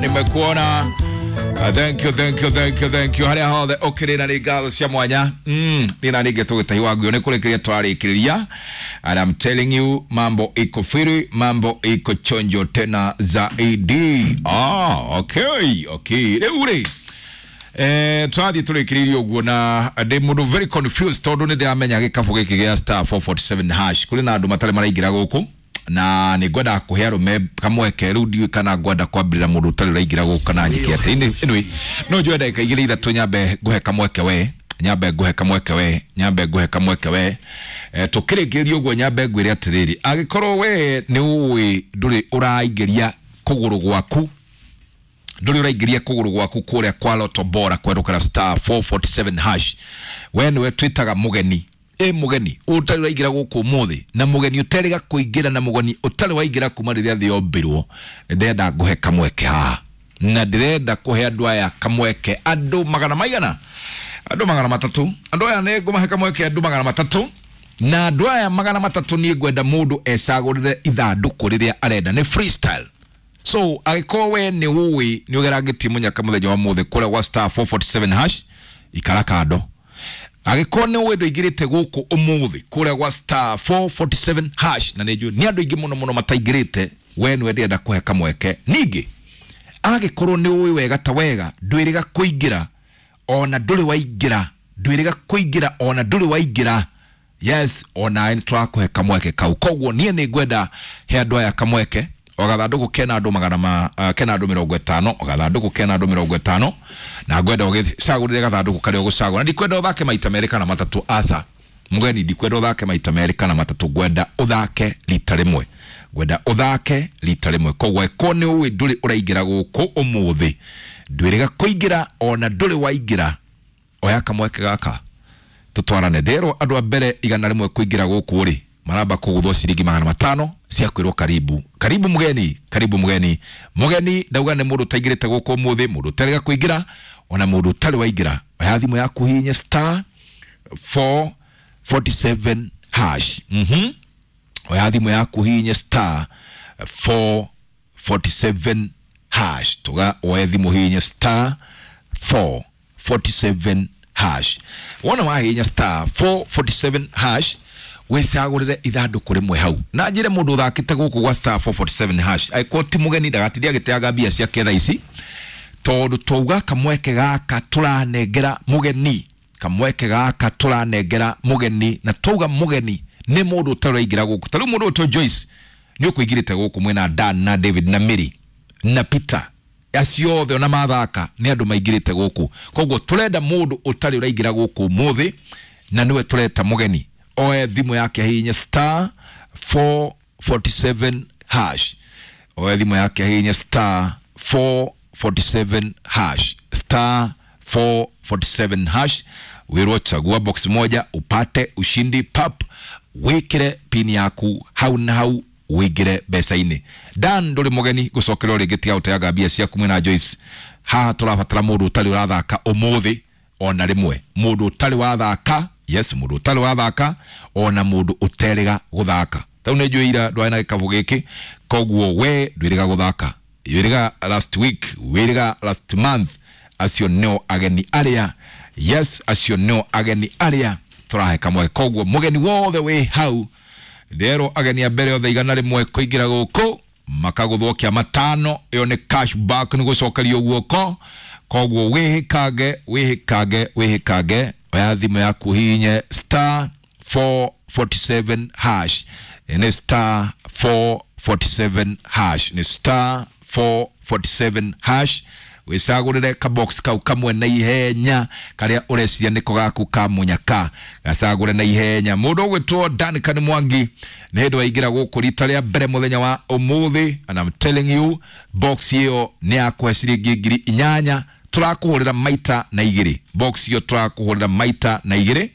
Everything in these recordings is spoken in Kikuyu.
Nimekuona. Thank you, thank you, thank you, thank you. Harĩa hothe ũkĩrĩ na nĩ ngatho cia mwanya. Nĩ na ningĩ tũgĩtahi wa nguo nĩ kũrĩkĩria twarĩkĩrĩria. And I'm telling you, mambo iko firi, mambo iko chonjo tena zaidi. Ah, okay, okay. Rĩu rĩ, tũrathiĩ tũrĩkĩrĩirie ũguo na ndĩ mũndũ very confused tondũ nĩ ndĩramenya gĩkabũ gĩkĩ gĩa star 447 hash kũrĩ na andũ matarĩ maraingĩra gũkũ na nĩ ngwenda kũhe arũme kamweke. Rĩu ndiũĩ kana ngwenda kwambĩrĩra mũndũ ũtarĩ ũraingĩra gũkũ kana nyĩke atĩ. Anyway, no njoe ndagĩka igĩrĩ ithatũ nyambe ngũhe kamweke we, nyambe ngũhe kamweke we, nyambe ngũhe kamweke we. Tũkĩrĩkĩrĩria ũguo nyambe ngwĩre atĩrĩrĩ, angĩkorwo we nĩ ũĩ ndũrĩ ũraingĩria kũgũrũ gwaku, ndũrĩ ũraingĩria kũgũrũ gwaku kũrĩa kwa Lotto Bora kwerũkĩra star 447 hash, we nĩwe twĩtaga mũgeni. Ĩ mũgeni ũtarĩ ũraingĩra gũkũ ũmũthĩ, na mũgeni ũterĩga kũingĩra, na mũgeni ũtarĩ waingĩra kuma rĩrĩa thĩ yombirwo, ndĩrenda ngũhe kamweke haha, na ndĩrenda kũhe andũ aya kamweke, andũ magana maigana, andũ 300. Andũ aya nĩ ngũmahe kamweke, andũ 300, na andũ aya 300 niĩ ngwenda mũndũ ecagũrĩre ithandũkũ rĩrĩa arenda, nĩ freestyle. So angĩkorwo we nĩ ũĩ nĩ ũgerangĩtie mũnyaka mũthenya wa mũthĩ kũrĩa gwa star 447 hash, ikara kando. Angĩkorwo nĩ ũĩ ndũingĩrĩte gũkũ ũmũthĩ kũrĩa gwa star 447 hash, na nĩ njũĩ nĩ andũ aingĩ mũno mũno mataingĩrĩte, we nĩwe ndĩrenda kũhe kamweke. Ningĩ angĩkorwo nĩ ũĩ wega ta wega ndwĩrĩga kũingĩra ona ndũrĩ waingĩra, ndwĩrĩga kũingĩra ona ndũrĩ waingĩra, yes, ona nĩ tũrakũhe kamweke kau. Koguo niĩ nĩ ngwenda he andũ aya kamweke. O gathandũkũ kena andũ magana ma kena andũ 50, o gathandũkũ kena andũ 50, na ngwenda ũgĩcagũrĩre gathandũkũ karĩa ũgũcagũra. Ndikwenda ũthake maita merĩ kana matatũ, aca mũgeni, ndikwenda ũthake maita merĩ kana matatũ, ngwenda ũthake rita rĩmwe, ngwenda ũthake rita rĩmwe. Koguo angĩkorwo nĩ ũĩ ndũrĩ ũraingĩra gũkũ ũmũthĩ, ndwĩrĩga kũingĩra ona ndũrĩ waingĩra, oya kamweke gaka tũtwarane. Nderwo andũ a mbere 100 kũingĩra gũkũ rĩ, maramba kũgũthwo ciringi 500 cia kwĩrwo karibu, karibu mũgeni, karibu mũgeni. Mũgeni ndauga nĩ mũndũ ũtaingĩrĩte gũkũ ũmũthĩ, mũndũ ũtarĩga kũingĩra ona mũndũ ũtarĩ waingĩra. Oya thimũ yaku hihinye star 447 hash. Oya thimũ yaku hihinye star 447 hash. Tuga oe thimũ hihinye star 447 hash. Wona wahihinya star 447 hash, wĩcagũrĩre ithandũkũ rĩmwe hau. Na njĩre mũndũ ũthakĩte gũkũ gwa star 447 hash, angĩkorwo ti mũgeni ndagatinde agĩteanga mbia ciake thaa ici, tondũ twauga kamweke gaka tũranengera mũgeni, kamweke gaka tũranengera mũgeni, na twauga mũgeni nĩ mũndũ ũtarĩ ũraingĩra gũkũ. Ta rĩu mũndũ ũtwo Joyce nĩ ũkũingĩrĩte gũkũ mwĩna Dan na David na Mary na Peter, acio othe ona mathaka nĩ andũ maingĩrĩte gũkũ. Koguo tũrenda mũndũ ũtarĩ ũraingĩra gũkũ ũmũthĩ, na nĩwe tũreta mũgeni. Oe thimũ yake ahihinye star 447 hash. Oe thimũ yake ahihinye star 447 hash, star 447 hash. Wĩrwo chagua box moja upate ushindi pap, wĩkĩre pin yaku hau na hau wĩingĩre mbeca-inĩ. Dan ndũrĩ mũgeni gũcokerwo rĩngĩ, tiga gũteanga mbia ciaku mwĩna Joyce. Haha tũrabatara mũndũ ũtarĩ ũrathaka ũmũthĩ ona rĩmwe, mũndũ ũtarĩ wathaka, yes, mũndũ ũtarĩ wathaka ona mũndũ ũterĩga gũthaka. Tau nĩ njũĩ ira ndwarĩ na gĩkabũ gĩkĩ, koguo we ndwĩrĩga gũthaka, wĩrĩga last week, wĩrĩga last month. Acio nĩo ageni arĩa, yes, acio nĩo ageni arĩa tũrahe kamweke. Koguo mũgeni wothe wĩ hau, nderwo ageni a mbere othe 100 kũingĩra gũkũ makagũthwo kĩa 500, ĩyo nĩ cash back, nĩ gũcokerio guoko. Koguo wĩhĩkange, wĩhĩkange, wĩhĩkange. Oya thimũ yaku hihinye star 447 hash, nĩ star 447 hash, nĩ star 447 hash. Wĩcagũrĩre kabox kau kamwe na ihenya karĩa ũreciria nĩko gaku ka mũnyaka, gacagũre na ihenya. Mũndũ ũgwĩtwo Duncan Mwangi nĩ hĩndĩ waingĩra gũkũ rita rĩa mbere mũthenya wa ũmũthĩ, and I'm telling you, box ĩyo nĩ yakũhe ciringi 8,000, tũrakũhũrĩra maita na igĩrĩ. Box ĩyo tũrakũhũrĩra maita na igĩrĩ.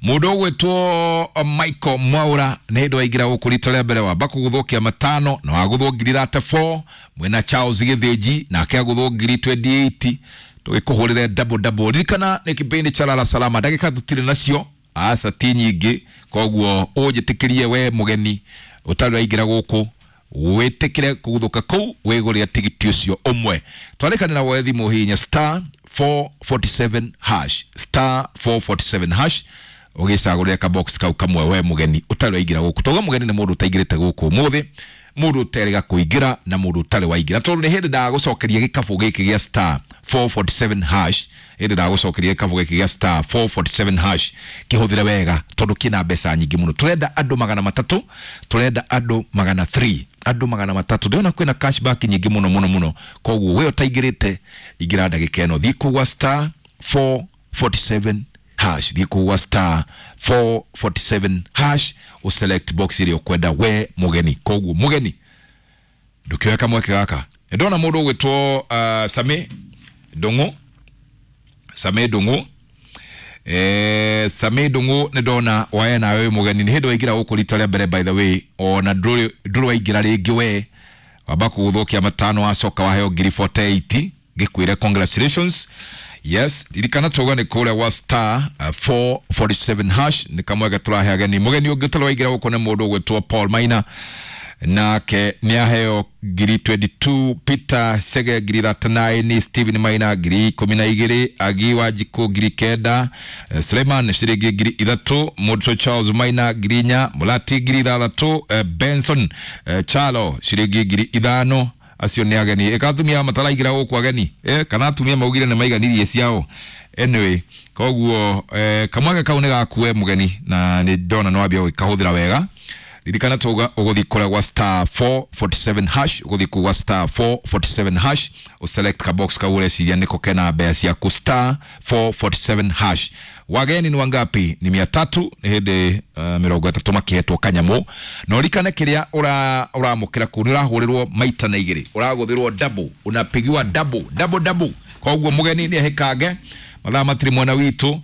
Mũndũ ũgwĩtwo Michael Mwaura nĩ hĩndĩ waingĩra gũkũ rita rĩa mbere, wamba kũgũthwo kĩa 5 na wagũthwo ngiri 34. Mwĩna Charles Gĩthĩnji nake agũthwo ngiri 28. Tũgĩkũhũrĩre double double. Ririkana nĩ kĩbindi cha Lala Salama, ndagĩka tũtirĩ nacio, aca ti nyingĩ, koguo ũnjĩtĩkĩrie we mũgeni ũtarĩ waingĩra gũkũ, Wĩtĩkĩre kũguthũka kũu wĩgũrĩre tigiti ũcio ũmwe. Twarĩkanĩra woe thimũ hihinya star 447 hash, star 447 hash, ũgĩcagũrĩre kabox kau kamwe we mũgeni ũtarĩ waingĩra gũkũ. Tauga mũgeni nĩ mũndũ ũtaingĩrĩte gũkũ ũmũthĩ, mũndũ ũterĩga kũingĩra na mũndũ ũtarĩ waingĩra, tondũ nĩ hĩndĩ ndagũcokeria gĩkabũ gĩkĩ gĩa star 447 hash. Hĩndĩ ndagũcokeria gĩkabũ gĩkĩ gĩa star 447 hash, kĩhũthĩre wega tondũ kĩna mbeca nyingĩ mũno. Tũrenda andũ 300, tũrenda andũ 300, andũ 300. Ndĩrona kwĩna cashback nyingĩ mũno mũno mũno, koguo we ũtaingĩrĩte ingĩra ndagĩka ĩno, thiĩ kũgwa star 447 hash, thiĩ kũgwa star 447 hash, ũselect box ĩrĩa ũkwenda we mũgeni. Koguo mũgeni ndũkĩoe kamweke gaka. Ndona mũndũ ũgwĩtwo Sami Ndung'u, Sami Ndung'u, Sami Ndung'u nĩ ndona wae nawe wĩ mũgeni, nĩ hĩndĩ waingĩra gũkũ rita rĩa mbere, by the way, ona ndũrĩ waingĩra rĩngĩ, we wamba kũgũthũkia matano wacoka waheo ngiri 48, ngĩkwĩre congratulations. Yes, ririkana tuga nĩ kũrĩa gwa star 447 hash nĩ kamweke tũrahe ageni. Mũgeni ũngĩ ũtarĩ waingĩra gũkũ nĩ mũndũ ũgwĩtwo Paul Maina, nake nĩ aheo ngiri 22, Peter Sege ngiri 39, Stephen Maina ngiri 12, Agi Wanjikũ ngiri 9, Suleiman ciringi ngiri 3, Mũndũ Charles Maina ngiri 4, Mulati ngiri 6, Benson Chalo ciringi ngiri 5. Acio nĩ ageni. Ĩka atumia mataraingĩra gũkũ ageni, kana atumia maugire nĩ maiganirie ciao. Anyway, koguo kamweke kau nĩ gakue mũgeni na nĩ ndona nĩ wambia gũkahũthĩra wega. Ririkana tuga ũgũthiĩ kũrĩa gwa star 447 hash, ũgũthiĩ kũu gwa star 447 hash, ũselect kabox kau ũreciria nĩko kena mbeca ciaku, star 447 hash. Wageni ni wangapi? Ni 300. Nĩ hĩndĩ 30 makĩhetwo kanyamũ. Na ũririkane kĩrĩa ũramũkĩra kũu nĩ ũrahũrĩrwo maita na igĩrĩ, ũragũthĩrwo double, unapigiwa double double double. Koguo mũgeni nĩ ehĩkange mathaa matirĩ mwena witũ.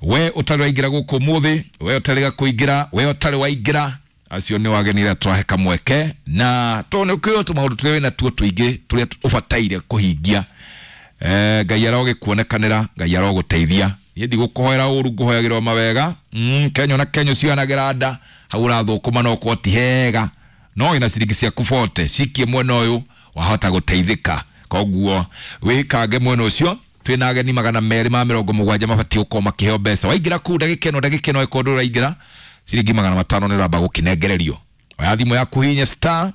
We ũtarĩ waingĩra gũkũ ũmũthĩ, we ũtarĩga kũingĩra, we ũtarĩ waingĩra, acio nĩ wageni arĩa tũrahe kamweke, na tondũ nĩ ũkĩũĩ tũmaũndũ tũrĩa wĩna tuo tũingĩ tũrĩa ũbataire kũhingia. Ngai arogĩkuonekanĩra, Ngai arogũteithia. Niĩ ndigũkũhoera ũru, ngũhoyagĩrwo mawega. Kenyo na kenyo cianagĩra nda hau ũrathũkũma no ũkorwo ti hega, no wĩna ciringi ciaku bote cikie mwena ũyũ wahota gũteithĩka. Koguo wĩkange mwena ũcio. Twĩna ageni 270 mabatiĩ gũkorwo makĩheo mbeca. Waingĩra kũu ndagĩka ĩno, ndagĩka ĩno ĩkorwo ndũraingĩra ciringi 500 nĩ ũramba gũkĩnengererio. Oya thimũ yaku hihinya star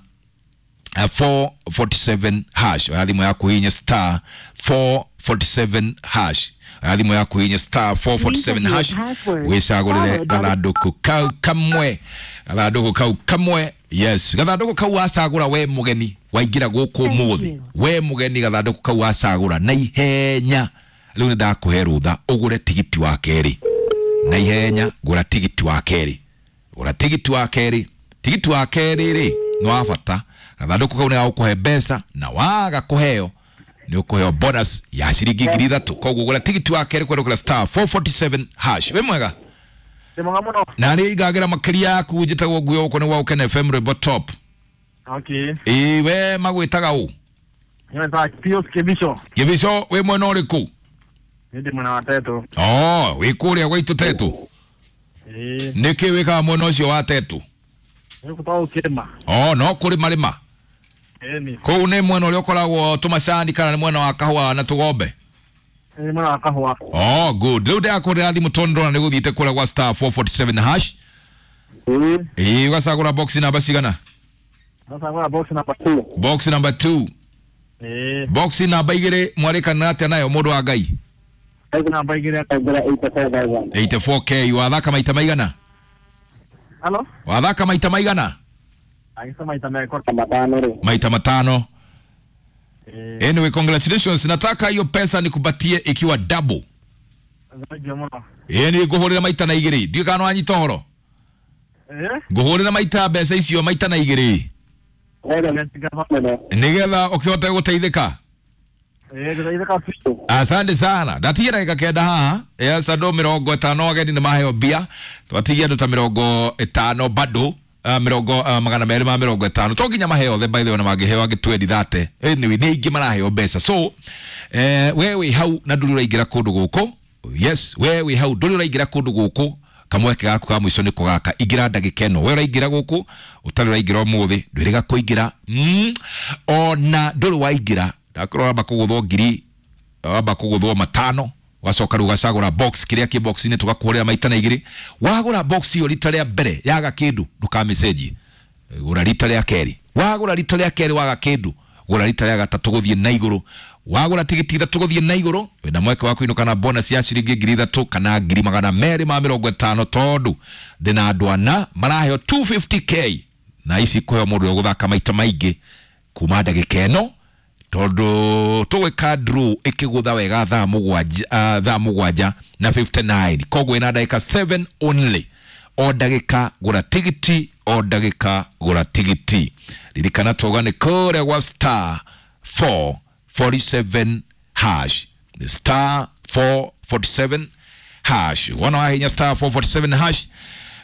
447 hash, oya thimũ yaku hihinya star 447 hash, oya thimũ yaku hihinya star 447 hash, wĩcagũrĩre gathandũkũ kau kamwe, gathandũkũ kau kamwe. Yes, gathandũkũ kau wacagũra we mũgeni waingĩra gũkũ ũmũthĩ, we mũgeni gathandũkũ kau wacagũra na ihenya rĩu nĩ ndakũhe rũtha ũgũre tigiti wa kerĩ na ihenya. Gũra tigiti wa kerĩ, gũra tigiti wa kerĩ. Tigiti wa kerĩ rĩ nĩ wa bata. Gathandũkũ kau nĩ gagũkũhe mbeca, na waga kũheo nĩ ũkũheo bonus ya ciringi ngiri 3. Koguo gũra tigiti wa kerĩ kwerũkĩra star 447 hash. Wĩ mwega? Ndĩ mwega mũno. Na nĩ ingagĩra makĩria yaku, njĩtagwo Nguyo, gũkũ nĩ gwa Ũkene FM Rwĩmbo Top. Okay. Ĩĩ, we magwĩtaga ũ? Nĩ Pius Kĩbico. Kĩbico, wĩ mwena ũrĩkũ? Nĩ ndĩ mwena wa Tetu. Oh, wĩ kũrĩa gwaitũ Tetu? Ĩĩ. Nĩkĩ wĩkaga mwena ũcio wa Tetu? Nĩ gũkorwo ũkĩrĩma. Oh, no kũrĩma rĩma. Ĩni. Kũu nĩ mwena ũrĩa ũkoragwo tũmacani kana nĩ mwena wa kahũa na tũgombe? Nĩ mwena wa kahũa. Oh, good. Rĩu ndĩrakũrĩra thimũ tondũ ndĩrona nĩ gũthiĩte kũrĩa gwa star 447 hash. Ĩĩ. Ĩĩ, ũgacagũra box namba cigana? Ndacagũra box number 2. Box number 2. Ĩĩ. Box namba 2 mwarĩkanĩra atĩa nayo mũndũ wa Ngai? Namba 2 akaingĩra 84,000. 84k. Wathaka maita maigana? Halo? Wathaka maita maigana? Agĩca maita merĩ matano rĩ. Maita matano. Ĩĩ. Anyway, congratulations. Nataka hiyo pesa nikupatie ikiwa double. Thengiũ mũno. Ĩĩ, nĩ ngũhũrĩra maita na igĩrĩ. Ndiũĩ kana nĩwanyita ũhoro. Ĩĩ. Ngũhũrĩra maita mbeca icio maita na igĩrĩ. Nĩgetha ũkĩhote gũteithĩka. Ĩĩ, ngũteithĩka biũ. Asante sana. Ndatigia ndagĩka 9 haha. Yes, andũ 50 ageni nĩ maheo mbia. Twatigia andũ ta 50 bado. 250 to nginya maheo othe, by the way, na mangĩheo angĩ 20 30. Anyway, nĩ aingĩ maraheo mbeca. So we wĩ hau na ndũrĩ ũraingĩra kũndũ gũkũ. Yes, we wĩ hau ndũrĩ ũraingĩra kũndũ gũkũ. Kamweke gaku ka mũico nĩko gaka. Ingĩra ndagĩka ĩno. We ũraingĩra gũkũ ũtarĩ ũraingĩra ũmũthĩ, ndwĩrĩga kũingĩra. Ona ndũrĩ waingĩra, ndakorwo wamba kũgũthwo ngiri, wamba kũgũthwo 5, wacoka rĩu ũgacagũra box kĩrĩa kĩ box-inĩ tũgakũhũrĩra maita na 2. Wagũra box ĩyo rita rĩa mbere yaga kĩndũ, ndũkamĩcenjie. Gũra rita rĩa kerĩ. Wagũra rita rĩa kerĩ waga kĩndũ, gũra rita rĩa gatatũ gũthiĩ na igũrũ. Wagũra tigiti 3 gũthiĩ na igũrũ, wĩna mweke wa kũinũka na bonus ya ciringi 3,000 kana 250,000, tondũ ndĩna andũ ana maraheo 250k na ici kũheo mũndũ ũrĩa ũgũthaka maita maingĩ kuma ndagĩka ĩno, tondũ tũgwĩka draw ĩkĩgũtha wega thaa mũgwanja, thaa mũgwanja na 59. Koguo ĩna ndagĩka 7 only. O ndagĩka gũra tigiti, o ndagĩka gũra tigiti. Ririkana twauga nĩ kũrĩa gwa star 447 hash. Star 447 hash. Wona wahinya star 447 hash,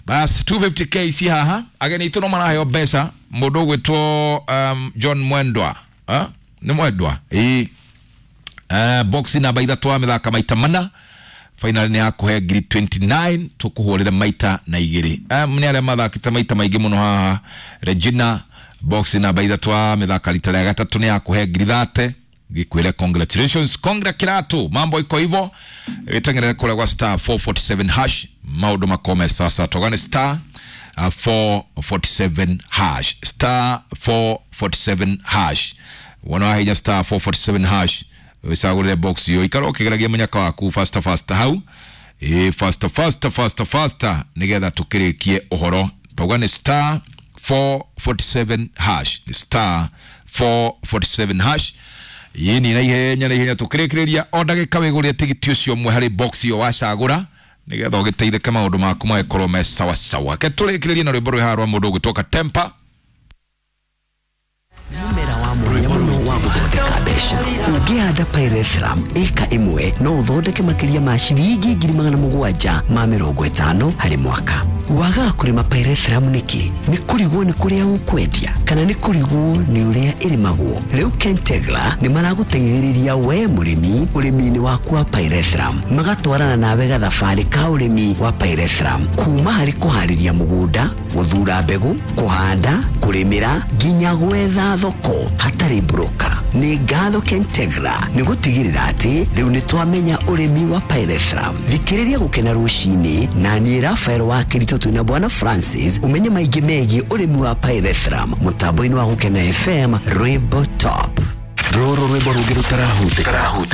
bas 250k ci haha. Ageni itũ no maraheo mbeca. Mũndũ ũgwĩtwo John Mwendwa, nĩ Mwendwa ĩĩ. Box namba 3 wa mĩthaka maita 4, final nĩ yakũhe ngiri 29, tũkũhũrĩre maita na 2. Nĩ arĩa mathakĩte maita maingĩ mũno haha. Regina, box namba 3 wa mĩthaka rita rĩa gatatũ, nĩ yakũhe ngiri 30. Gĩkwĩre congratulations, congra kiratu, mambo iko hivyo. Wĩteng'erere kũrĩa gwa star 447 hash, maũndũ makome sasa. Togane star 447 hash, star 447 hash. Wona wahinya star 447 hash, wĩcagũrĩre box iyo, ikara ũkĩgeragia mũnyaka waku faster faster hau. Faster faster faster faster, nĩgetha tũkĩrĩkie ũhoro. Tauga nĩ star 447 hash, star 447 hash. Yini na ihenya na ihenya tũkĩrĩkĩrĩria. O ndagĩka wĩgũrĩre tigiti ũcio ũmwe harĩ box iyo wacagũra, nĩgetha ũgĩteithĩke maũndũ maku magĩkorwo me sawa sawa. Ke tũrĩkĩrĩrie na rwĩmbo rwĩ haha rwa mũndũ ũgwĩtwo Katempa. Mũmera wa mwanya mũno wa gũthondeka mbeca. Ũngĩhanda pyrethrum ĩka 1, no ũthondeke makĩria ma ciringi 750,000 harĩ mwaka. Wagaga kũrĩma pyrethrum nĩkĩ? Nĩ kũrigwo nĩ kũrĩa ũkwendia kana nĩ kũrigwo nĩ ũrĩa ĩrĩmagwo? Rĩu Kentegra nĩ maragũteithĩrĩria we mũrĩmi ũrĩmi-inĩ waku wa pyrethrum, magatwarana nawe gathabarĩ ka ũrĩmi wa pyrethrum, kuma harĩ kũharĩria mũgũnda, gũthura mbegũ, kũhanda, kũrĩmĩra nginya gwetha thoko hatarĩ broker. Nĩ ngatho Kentegra nĩ gũtigĩrĩra atĩ rĩu nĩ twamenya ũrĩmi wa pyrethrum. Thikĩrĩria Gũkena Rũcinĩ na niĩ Rafael wa Kĩritũ twĩna Bwana Francis, ũmenye maingĩ megiĩ ũrĩmi wa pyrethrum mũtambo-inĩ wa Gũkena FM, Rwĩmbo Top. Rũrũ rwĩmbo rũngĩ rũtarahutĩka.